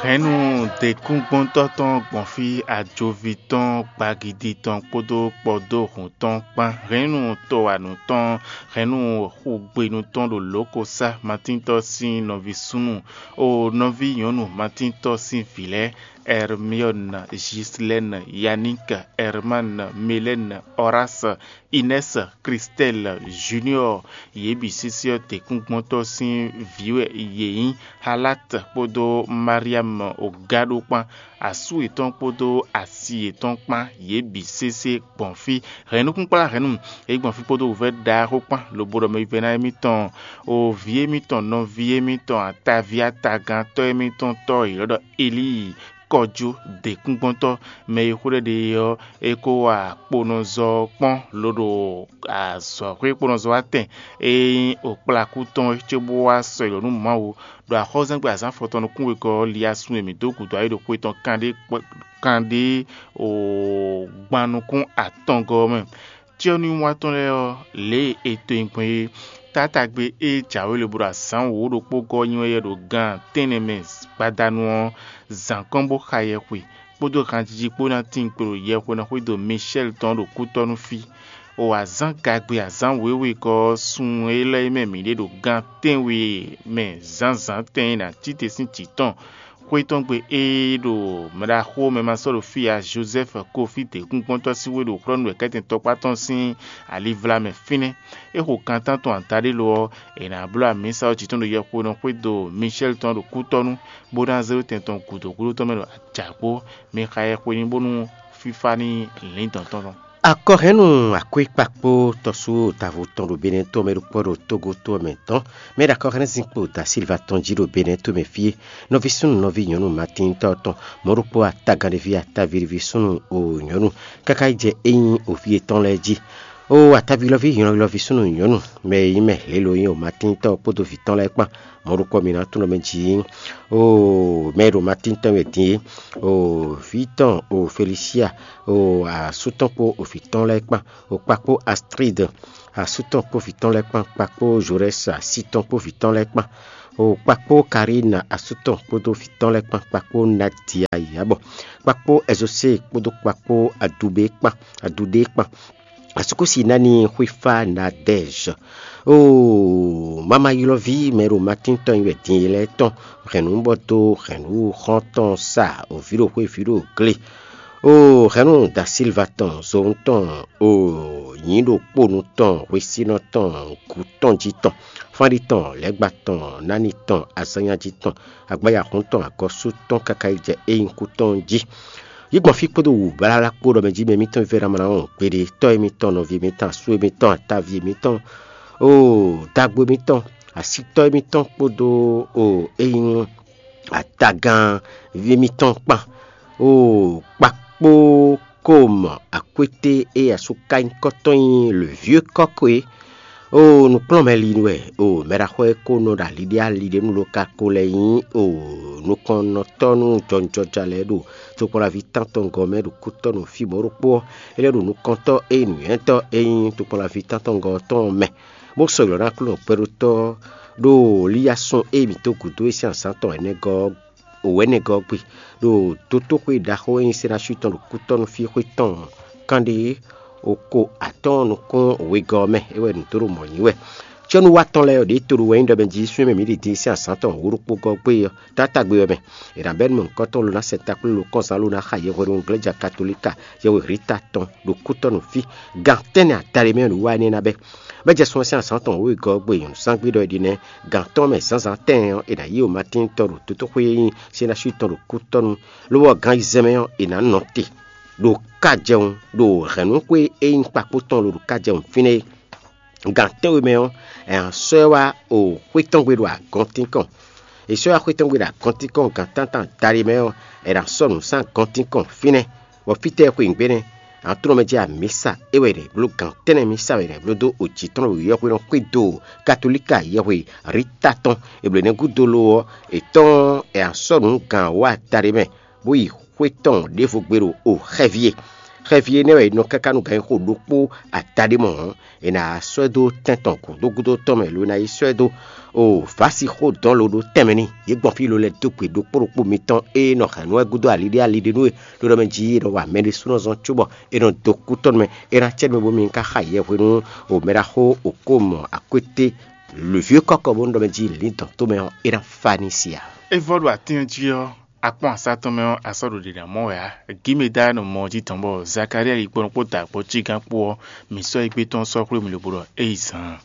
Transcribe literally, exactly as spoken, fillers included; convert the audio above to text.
Hɛ̌nnu děkúngbɔ́ntɔ́ tɔn gbɔn fí, ajoví tɔn, gbagidi tɔn kpódó kpɔdóhun tɔn kpán, hɛ̌nnu tɔwanǔ tɔn, hɛ̌nnu xúgbénu tɔn ɖo lǒkosá Matíntɔ́ sín nɔví súnnu, o nɔví nyɔ̌nu Matíntɔ́ sín vǐ lɛ́ɛ, Ɛrmiɔ́n, Jislɛ́n, Yaník, Ɛrmán, Melɛ́n, Ɔrás, Inɛ́s, Klistɛ́l, Juniɔ́ɔ, yě bǐ sésé ɔ́, děkúngbɔ́ntɔ́ sín vǐ wɛ yě nyí. Halát kpódó Mariam ogáɖó kpán, asú yětɔn kpódó asi yětɔn kpán, yě bǐ sésé gbɔn fí. Hɛ̌nnukúnkplá hɛ̌nnu, yě gbɔn fí kpódó wǔvɛ́ ɖaxó kpán, lobo ɖɔ mɛ vívɛ́ná émítɔn, o vǐ émítɔn, nɔví émítɔn, ataví atagantɔ́ émítɔn tɔ́ yě lɔ ɖɔ Elíi, kɔjú děkúngbɔ́ntɔ́, mɛ e xó ɖɛ ɖe é ɔ́, é kó wa kponɔzɔ ɔ́ kpɔ́n, loɖo azɔ̌xwé kponɔzɔ wá tɛn e nyí okplakú tɔn é cóbó wá sɔ́ yi ɖɔ nú Mawu, ɖo axɔ́zɛ́ngbe azǎn afɔtɔn nukún wegɔ́ ɔ́, Liasun e mǐ dó gǔdo ayǐ ɖo xwe tɔn kanɖé kanɖé o gban nukún atɔngɔ́ ɔ́ mɛ. Cyɔ́núwínwá tɔn lɛ́ɛ ɔ́, lě e è to nyi gbɔn é, taátagbe e jǎwe lobo ɖo azǎn wǒ ɖokpó gɔ́ nyi wɛ yɛ ɖo gan tɛ́nnɛ mɛ gbadanu ɔ́, zǎn kɔn bó xa yɛxwe, kpódó hanjiji kpó ná tín kpo ɖo yɛxwenɔ xwédo Micɛ́l tɔn ɖo kútɔ́ nú fí. O azǎn gagbe azǎn wěwe kɔ ɔ́, sun élɔ́ e mɛ mǐ ɖe ɖo gan tɛ́nwe mɛ zǎnzǎn tɛn e nǎ cí te sín jǐ tɔn. Xwé tɔn gbe ée ɖo mɛɖaxó mɛ ma sɔ́ ɖo fí ǎ, Jozɛ́fu Kofí děkúngbɔ́ntɔ́ sín xwé ɖo xlɔ́ nú wɛ̌kɛ́tɛn tɔkpá tɔn sín alivla mɛ fínɛ́. É xo kan tántɔn adaɖé lo ɔ́, è nǎ bló amǐsa ɔ́ jǐ tɔn ɖo yɛxwenɔ xwédo Micɛ́li tɔn ɖo kútɔ́nú, bó ná zé ɖó tɛn tɔn gǔdo gúdo tɔn mɛ ɖo ajǎkpó. Mi xa yɛxwe ní bónú fífá ní lǐn dɔn tɔn tɔn. Akɔhɛ́nnu akwékpakpó tɔ́sú Davo tɔn ɖo Benɛ́ to mɛ ɖokpó ɖo Togo to ɔ́ mɛ tɔn, mɛ ɖo akɔhɛ́nnu zinkpo Da Silva tɔn jí ɖo Benɛ́ to mɛ fí é. Nɔví súnnu nɔví nyɔ̌nu Matín tɔn tɔn, mɔ̌ ɖokpó atagán ɖé ví ataví ɖé ví súnnu o nyɔ̌nu, káká yi jɛ é nyí o fí yětɔn lɛ́ɛ jí. O ataví lɔví nyɔ̌nu lɔví súnnu nyɔ̌nu, mɛ e nyí mɛ lě lo nyí o Matín tɔn kpódó vǐ tɔn lɛ́ɛ kpán. Mɔ̌ ɖokpó mi ná tunɔ mɛ jí. O mɛ e ɖo Matín tɔn wɛ din é, o vǐ tɔn o Felisia, o asú tɔn kpó o vǐ tɔn lɛ́ɛ kpán, o kpakpó Astrid asú tɔn kpó vǐ tɔn lɛ́ɛ kpán, kpakpó Zorɛ́si así tɔn kpó vǐ tɔn lɛ́ɛ kpán, o kpakpó Karína asú tɔn kpódó vǐ tɔn lɛ́ɛ kpán, kpakpó Nadia Yabɔ, kpakpó Ɛzosée kpódó kpakpó Adubé kpán, Aduɖé kpán. Asúkúsi ná ní xwífá Nadɛ́zh. Oo, mama ylɔ́ví mɛ ɖo Matín tɔn nyi wɛ din e lɛ́ɛ tɔn, hɛ̌nnu bɔ dó hɛ̌nnu xɔ́ntɔn sa o vǐ ɖo xwé vǐ ɖo glé. Oo, hɛ̌nnu Da Silva tɔn, zowun tɔn, oo, nyǐ ɖo kponu tɔn, hwesínɔ tɔn, gǔ tɔn jí tɔn, fánɖí tɔn, lɛ̌gba tɔn, nání tɔn, azánnyájí tɔn, agbáyahún tɔn, agɔ̌sú tɔn káká yi jɛ é nyí kú tɔn jí. Yi gbɔn fí kpódó wǔ blálá kpó ɖɔ mɛ jí mɛ mǐtɔn vívɛ́ná mlá ɔ́ gbeɖé, tɔ́ émítɔn, nɔví émítɔn, asú émítɔn, ataví émítɔn, oo, dagbo émítɔn, asítɔ́ émítɔn kpódó oo, é nyí atagán ví émítɔn kpán, oo, kpakpó kom akwété e asú ká nyí kɔ́tɔn nyí le vieux kɔ́kɔ́ é. Oo, nǔkplɔ́nmɛ lin wɛ, oo, mɛɖaxó e ko nɔ ɖo ali ɖé ali ɖé nu ló ka ko lɛ́ nyí, oo, nukɔnnɔtɔ́ nú jɔnjɔja lɛ́ɛ ɖo tokpɔnlaví tántɔngɔ́ mɛ ɖo kútɔ́ nɔ fí mɔ̌ ɖokpó ɔ́, é lɛ́ ɖo nukɔntɔ́ e nyí nǔnywɛ́tɔ́ e nyí tokpɔnlaví tántɔngɔ́ tɔn ɔ́ mɛ, bó sɔ́ ylɔ́ ná Aklúnɔ kpɛɖótɔ́ ɖo Liyasun e mǐ dó gǔdo é sín azǎn tɔn ɛnɛgɔ́ ɔ́ wɛ̌nɛgɔ́ ɔ́ gbe, ɖo dotóxwé ɖaxó e nyí Senási tɔn ɖo kútɔ́ nú fí xwé tɔn kanɖé oko atɔ́ɔ́n nukún wegɔ́ ɔ́ mɛ, é wɛ nǔ dó ɖo mɔ̌ nyí wɛ. Cɛ́núwatɔ́ lɛ́ɛ ɔ́, ɖětolo wɛ nyí ɖɔ mɛ jí súnnu e mǐ ɖi din sín azǎn tɔn wǒ ɖokpó gɔ́ gbé ɔ́, taátagbe ɔ́ mɛ. È nǎ bɛ́ nú mɛ nǔkɔntɔn lo ná sɛ takplé lo kɔ́nzán lo ná xa yɛhweɖunu glɛ́ja katolíka yɛhwe Rita tɔn ɖo kútɔ́ nú fí. Gan tɛ́nnɛ adaɖé mɛ wɛ nǔwiwa énɛ́ ná bɛ́. Bɔ é jɛ sun ɔ́ sín azǎn tɔn wěwegɔ́ ɔ́ gbe nyɔ̌nuzángbe ɖɔ è ɖi nɛ́, gan tɔn mɛ zǎnzǎn tɛɛn ɔ́, è nǎ yí Matín tɔn ɖo dotóxwé e nyí Senási tɔn ɖo kútɔ́nu, lobɔ gan ayizɛ́n mɛ ɔ́, è nǎ nɔ te ɖo kájɛwun ɖo hɛ̌nnúxwé e nyí kpakpó tɔn lo ɖo kájɛwun fínɛ́ é. Gan tɛ́nwe mɛ ɔ́, è nǎ sɔ́ ɛ wá o xwé tɔn gbe ɖo agɔntínkɔn. È sɔ́ ɛ wá xwé tɔn gbe ɖo agɔntínkɔn gan tántán daɖé mɛ ɔ́, è nǎ sɔ́ nǔ sín agɔntínkɔn fínɛ́. Bɔ fítɛ́ xwe nǔgbé nɛ́? Aklúnɔ mɛ jí amǐsa é wɛ è nǎ bló gan tɛ́nnɛ mísa wɛ è nǎ bló dó o jǐ tɔn ɖo yɔhwenu xwé do katolíka yɛhwe Rita tɔn. È blǒ nɛ́ gúdo lo ɔ́, è tɔ́n ɔ́, è nǎ sɔ́ nǔ gan wá daɖé mɛ, bó yi xwé tɔn ɖěvo gbe ɖo o xɛví e. Xɛví énɛ́ wɛ è nɔ káká nú ganxixo ɖokpó adaɖé mɔ̌ hɔn, è nǎ sɔ́ ɛ dó tɛn tɔn gǔdo gúdo tɔn mɛ, lo è nǎ yi sɔ́ ɛ dó o vǎsi xó dɔn lo ɖó tɛnmɛ n'i. Yě gbɔn fí lo lɛ́ dó gbe ɖokpó ɖokpó mitɔn e nɔ hɛn nú wɛ gúdo aliɖé aliɖé nú we, ɖó ɖɔ mɛ jí è nɔ wa mɛ ɖésúnɔ zɔn cóbɔ è nɔ dó kú tɔn mɛ. É ná cɛ mɛ bómi ka xa yɛ hwenu o mɛ ɖaxó o kó mɔ akwété lǒvyé kɔ́kɔ bónú ɖɔ mɛ jí lǐndɔn tomɛ ɔ́, é ná fa ní sia. É vɔ ɖo atín ɔ́ jí ɔ́, akpɔ́n asá tɔn mɛ ɔ́, a sɔ́ ɖo ɖě ná mɔ wɛ ǎ. Gǐmedá nɔ mɔ ɔ́ jí tɔn bɔ Zakalía yi kpɔ́n kpó da kpɔ́ cí gán kpó ɔ́, mǐ sɔ́ yi gbé tɔn sɔ́ xwlé mì lobo ɖɔ é yi zaan.